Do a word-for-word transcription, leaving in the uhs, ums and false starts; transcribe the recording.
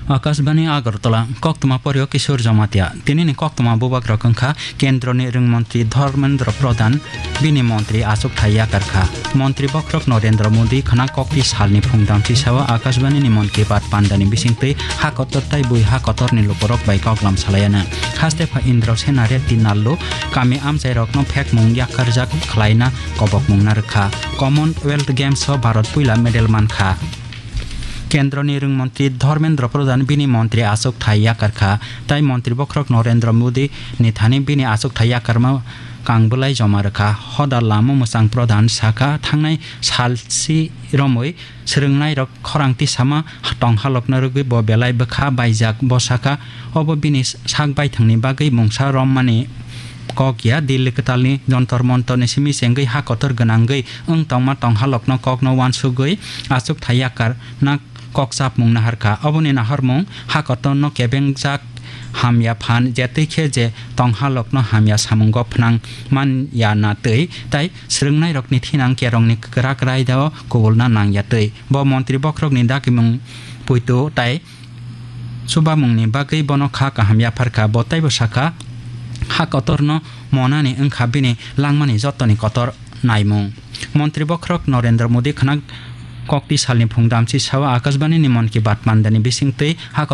Akashbani Agartala, koktwma poryo Kishore Jamatia. Tinini koktwma bubagrok wngkha Kendroni Rwngmontri Dharmendra Pradhan, bini montri achukthai yakarkha. Montri bokhorok Narendra Modi khwna kokti salni phungdamchi sao Akashbani ni Mann Ki Baat pandani bisingtwi ha kotor tai bui ha kotorni lukurok bai koklam salaiana. Haste pha Indrasena Reddy Nallu kami amchairokno phekmung yakarjak khlaina kobokmung narwkha. Commonwealth Games o Bharat puila medal mankha. Kendroni Rwngmontri Dharmendra Pradhan bini montri achukthai yakarkha, tai montri bokhorok Narendra Modi ni thani bini achukthai yakarma kangbwlai joma rwkha. Hoda lama mwchang Pradhan sakha, thangnai salsi romwi swrwngnairok khorang tisama tonghalokno rwgwi bo belai bwkha baijak. Bo sakha, obo bini sak baithangni bagwi mungsa rommani kok ya. Delhi kwtalni Jantar Mantarni simi chengwi ha kotor gwnangwi wng tongma tonghalokno kokno uansugwi achukthai yakarna kok chapmung naharkha. Oboni naharmung ha kotorno kebengjak hamya phan, jetwi khe je tonghalokno hamya samungo phnang manya na twi tai swrwngnairokni thinang kerongni kwrak raidao kubulna nangya twi. Bo montri bokhorokni dagimung puitu tai chubamungni bagwi bono kha kaham yapharkha. Bo taibo sakha, ha kotorno monani wngkha bini langmani jotoni kotor naimung. Montri bokhorok Narendra Modi khwna kokti salni phungdamchi sao Akashbani ni Mann Ki Baat pandani bisingtwi ha